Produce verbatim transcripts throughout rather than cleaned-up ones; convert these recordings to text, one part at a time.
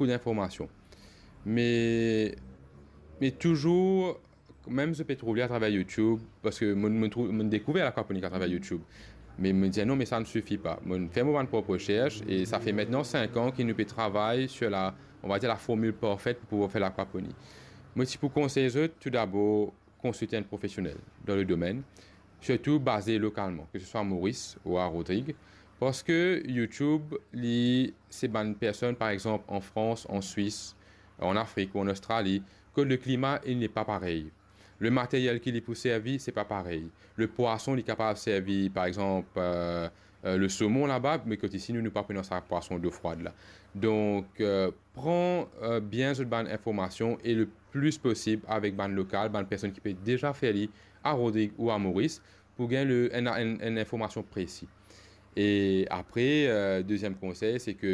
boukou dinformasion. Me, me touzour, mem zot pe trouv li atraver YouTube, parski mo, mo trouv, mo dekouver lakwaponik atraver YouTube. Me mo dir non, me sa ne sifi pa. Mo fer mo bann prop resers e sa fer aster sink an ki nou pe travay sir la, on va dir, la formil parfet pou pouvoir fer lakwaponi. Mo ti pou konsey zot, toudabor, konsilte enn profesionel dan le domenn, sirtou baze lokalman, ke se swa Moris ou a Rodrig, parski YouTube, li, se bann personn, par exanp, an Frans, an Swis, an Afrik ou an Ostrali, kot le klima, il n'est pas pareil. Le materyel ki li pou servi, se pa parey. Le pwason li kapav servi, par exanp, euh, euh, le somon laba, me kot isi, nou, nou pa pran sa pwason dofrwad la. Donk, euh, pran, euh, bien zot bann informasion e le plis posib avek bann lokal, bann personn ki pe deza fer li a Rodrig ou a Moris, pou gagn le, enn, enn, enn informasion presi. E apre, euh, deziem konsey, se ke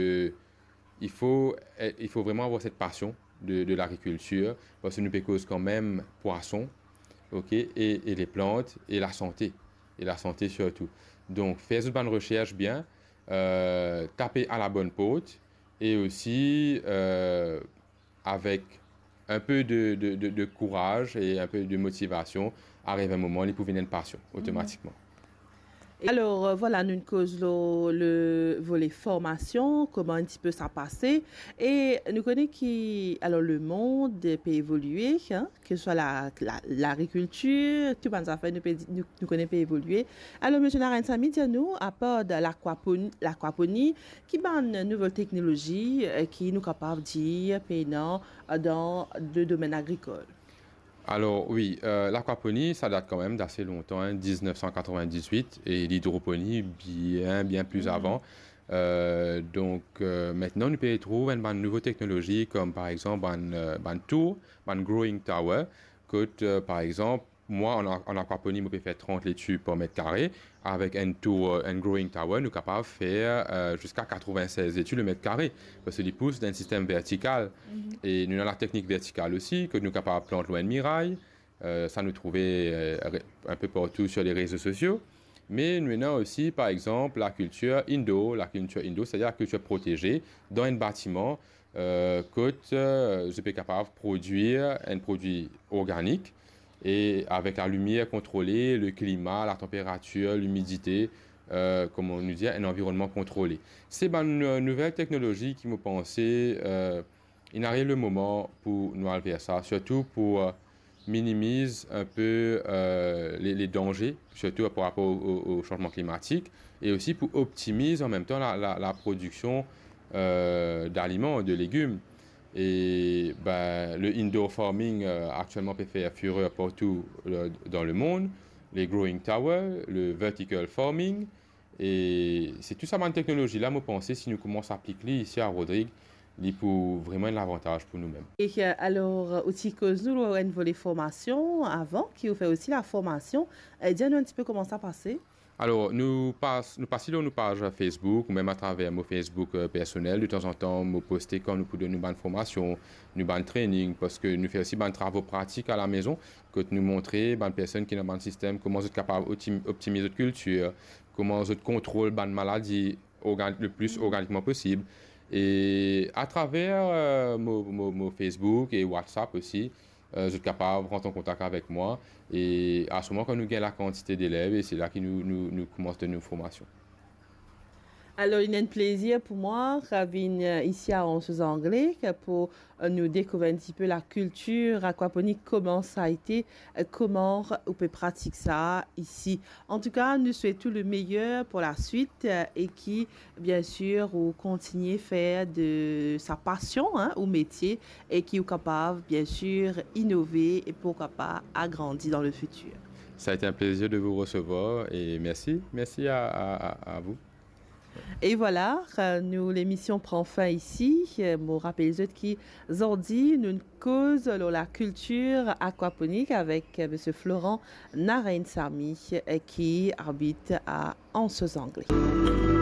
il faut, eh, il faut vraiment avoir cette passion de, de l'agriculture, parski nou pe koz kanmem pwason, ok, e, e leplant, e lasante, e lasante sirtou. Donk, fer zot bann resers bien, euh, tape a la bonn port, e osi, euh, avek enn pe de, de, de, de kouraz e enn pe de motivasion, ariv enn moman, li pou vinn enn pasion, otomatikman. E alor, euh, vwala, nou koz lor le vole formasion, kouma enn tipe sa pase. E nou kone ki, alor, lemond pe evolie, hein, ke se swa la, la, lagrikiltir, tou bann zafer nou pe di, nou, nou kone pe evolie. Alor, Misie Narain Samy, dir nou, apar de lakwaponi, lakwaponi, ki bann nouvel teknolozi, euh, ki nou kapav dir pena, euh, dan le domenn agrikol? Alor, wi, euh, lakwaponi, sa dat kanmem dase lontan, hein, diznef san katrevin-dizuit, e lidroponi, bien, bien pli avan. Euh, donk, euh, aster, nou pe trouv enn bann nouvo teknolozi, kom par exanp bann, euh, bann tour, bann growing tower, kot, euh, par exanp, mwa, an, an akwaponi, mo pe fer trant leti par met kare, avek enn tour, enn growing tower, nou kapav fer, euh, ziska katrevin-sez leti le met kare, parski li pous dan enn sistem vertikal. E nou ena lateknik vertikal osi, kot nou kapav plant lor enn miray, euh, sa nou trouve, euh, re-, enn pe partou sir le rezo sosio. Me nou ena osi, par exanp, lakiltir indoor. Lakiltir indoor, setadir lakiltir proteze dan enn batiman, euh, kot, euh, zot pe kapav prodwir enn prodwi organik e avek lalimier kontrole, le klima, latanperatir, limidite, euh, kouma nou dir, enn anvironnman kontrole. Se bann, euh, nouvel teknolozi ki, mo panse, euh, inn ariv le moman pou nou al ver sa, sirtou pou, euh, minimiz enn pe, euh, le, le danze, sirtou par rapor o, o, o sanzman klimatik, e osi pou optimiz an mem tan la, la, laprodiksion, euh, daliman, de legim. E, ben, le indoor farming, euh, aktielman pe fer firer partou, euh, dan lemond, le growing tower, le vertical farming, e se tou sa bann teknolozi la, mo panse, si nou koumans aplik li isi a Rodrig, li pou vreman enn lavantaz pou noumem. E, euh, alor, ou ti koz nou lor enn vole formasion avan, ki ou fer osi laformasion. Euh, dir nou enn tipe kouma sa pase. Alor, nou pas, nou pas lor nou paz Facebook, ou mem atraver mo Facebook, euh, personel. De tanzantan, mo poste kan nou pou donn nou bann formasion, nou bann training, parski nou fer osi bann travo pratik a lamezon, kot nou montre bann personn ki dan bann sistem kouma zot kapav optim-, optimiz zot kiltir, kouma zot kontrol bann maladi organ-, le pli organikman posib. E atraver, euh, mo, mo, mo Facebook e WhatsApp osi, euh, zot kapav rant an kontak avek mwa. E a se moman, kan nou gagn lakantite delev, e se la ki nou, nou, nou koumans donn nou formasion. Alor, li enn plezir pou mwa vinn, euh, isi a Anse aux Anglais pou, euh, nou dekouver enn tipe lakiltir akwaponik, kouma sa ete, euh, kouma ou pe pratik sa isi. Antouka, nou swet ou le meyer pou laswit, euh, e ki, biensir, ou kontigne fer de sa pasion, hein, ou metie, e ki ou kapav, biensir, inove e pourkwa pa agrandi dan le fitir. Ça a été un plaisir de vous recevoir et merci, merci à, à, à, à vous. E vwala, euh, nou lemision pran fin isi. Euh, mo rapel zot ki zordi nou koz lor lakiltir akwaponik avek, euh, Misie Florent Narain Samy, euh, ki abit a Anse aux Anglais.